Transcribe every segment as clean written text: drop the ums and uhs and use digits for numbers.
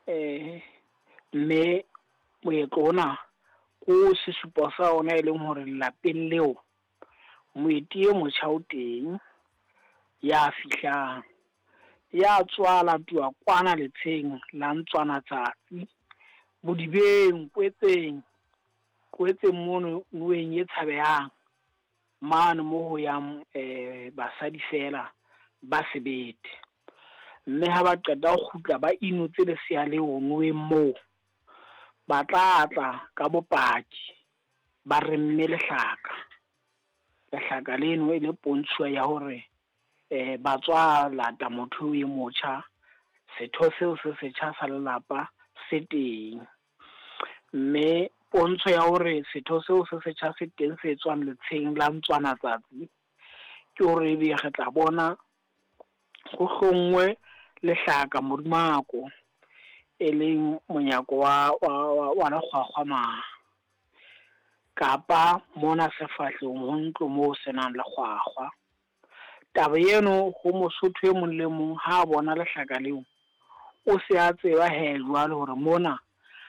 Mme moetlo ona ko sesupo sa ona e leng hore lelapeng leo moeti e motjha o teng ya fihlang, ya tswa latuwa kwana letsheng la ntswana tsatsi bodibeng kwetseng kwetseng mono noweng e tshabehang mane mo ho yang basadi fela ba sebete. Mme ha ba qeta ho kgutla ba inotse lesea leo noweng moo, ba tla tla ka bopaki ba remme lehlaka. Lehlaka leno e le pontsho ya hore ba tswa lata motho e motjha, setho seo se setjha sa lelapa se teng. Mme pontsho ya hore setho seo se setjha se teng se tswang letsheng la ntswana tsatsi, ke hore ebe re tla bona ho hlonngwe lehlaka modumako, e leng monyako wa lekgwakgwa ma. Kapa mona sefahlehong ho ntlo moo senang lekgwakgwa. Taba eno ho Mosotho e mong le mong ha bona lehlaka leo, o se a tseba he jwale hore mona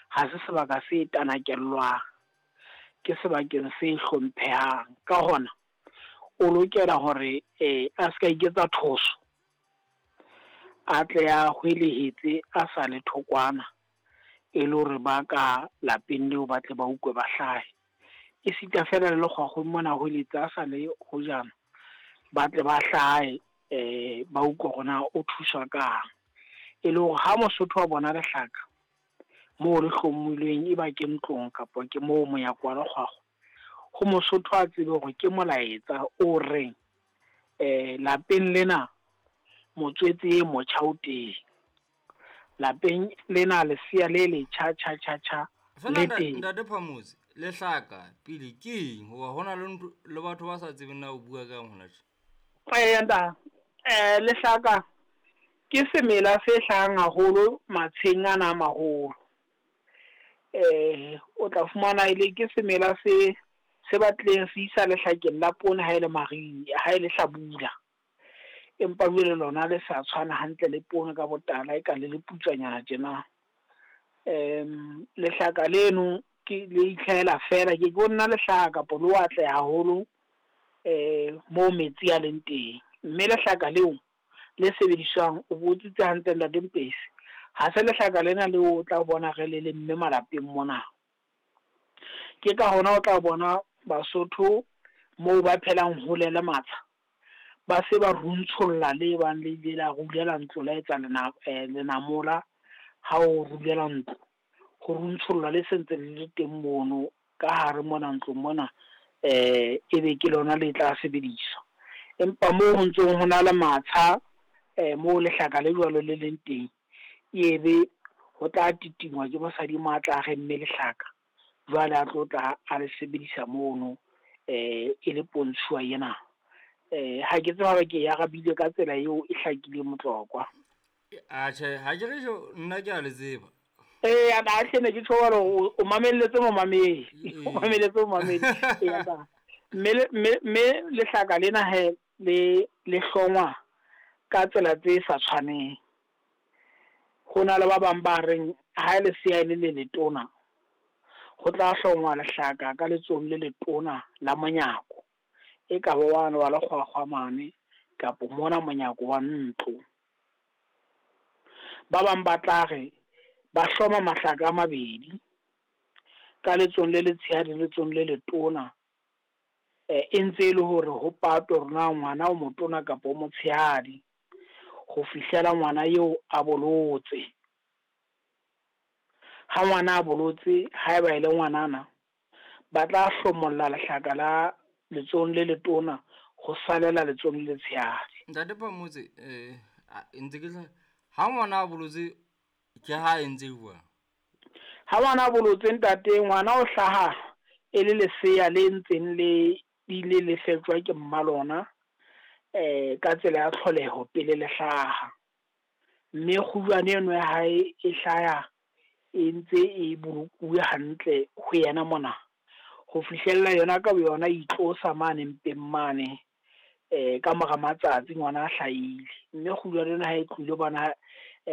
ha se sebaka se tanakellwang, ke sebakeng se hlomphehang. Ka hona o lokela hore a ska iketsa thoso, a tle a hwelehetse a sa le thokwana, e le hore ba ka lapeng leo ba tle ba utlwe ba hlahe. E sita fela le lekgwakgweng mona hweletsa a sa le hojana, ba tle ba hlahe ba utlwe hore na o thuswa kang. E le hore ha Mosotho wa bona lehlaka moo le hlomilweng, e ba ke ntlong kapa ke moo monyako wa lekgwakgwa, ho Mosotho a tsebe hore ke molaetsa o reng lapeng lena motswetse e motjha o teng. Lapeng lena lesea le letjha tjha tjha tjha le teng. Ntate Phamotse, lehlaka pele ke eng? Hoba hona le ntho le batho ba sa tsebeng na o bua kang hona tje. Ntate, lehlaka ke semela se hlahang haholo matsheng ana a maholo. O tla fumana ele ke semela se batlileng se isa lehlakeng la poone ha ele mariha, ha ele hlabula. Empa jwale lona le sa tshwana hantle le poone ka botala, e ka le le putswanyana tjena. Lehlaka leno ke le itlhahela fela, ke ke nna lehlaha kapa le atle haholo moo metsi a leng teng. Mme lehlaka leo le sebediswang, o botsitse hantle Ntate Mpesi, ha se lehlaka lena leo o tla bona re le lemme malapeng mona. Ke ka hona o tla bona Basotho moo ba phelang hole le matsha, ba se ba runtsholla le bang le ile la rulela ntlo la etsa lenamola ha o rulela ntlo. Ho runtsholla le sentse le le teng mono ka hare mona ntlong mona, ebe ke lona le tla sebediswa. Empa moo ho ntsong ho na le matsha, moo lehlaka le jwalo le leng teng, ebe ho tla titingwa ke mosadi mo a tla remme lehlaka, jwale a tlo tla a le sebedisa mono e le pontshuwa ena. Ha ke tsebe hore ke e arabile ka tsela eo e hlakileng Motlokwa. Atjhe, ha ke re nna ke a le tseba. A hle ne ke tjho hore o mamelletse momamedi. O mamelletse momamedi. Mme lehlaka lena he le hlongwa ka tsela tse sa tshwaneng. Ho na le ba bang ba reng ha lesea le le letona, ho tla hlongwa lehlaka ka letsohong le letona la monyako, e ka ba wane wa lekgwakgwa mane kapa mona monyako wa ntlo. Ba bang ba tla re ba hloma mahlaka a mabedi ka letsohong le letshehadi le letsohong le letona, e ntse e le hore ho patwe hore na ngwana o motona kapa o motshehadi, ho fihlela ngwana eo a bolotse. Ha ngwana a bolotse, haeba e le ngwanana, ba tla hlomolla lehlaka la letsohong le letona ho salela letsohong le letshehadi. Ntate Phamotse, ntse ke ha ngwana a bolotse ke ha entse jwang? Ha ngwana a bolotse ntate, ngwana o hlaha e le lesea le ntseng le ile le fetjwa ke mma lona ka tsela ya tlholeho pele le hlaha. Mme kgujwane eno ya hae e hlaya e ntse e bolokuwe hantle ho yena mona, ho fihlella yona ka boyona itlosa mane mpeng mane ka mora matsatsi ngwana a hlahile. Mme kgujwane ena ha e tlohile bona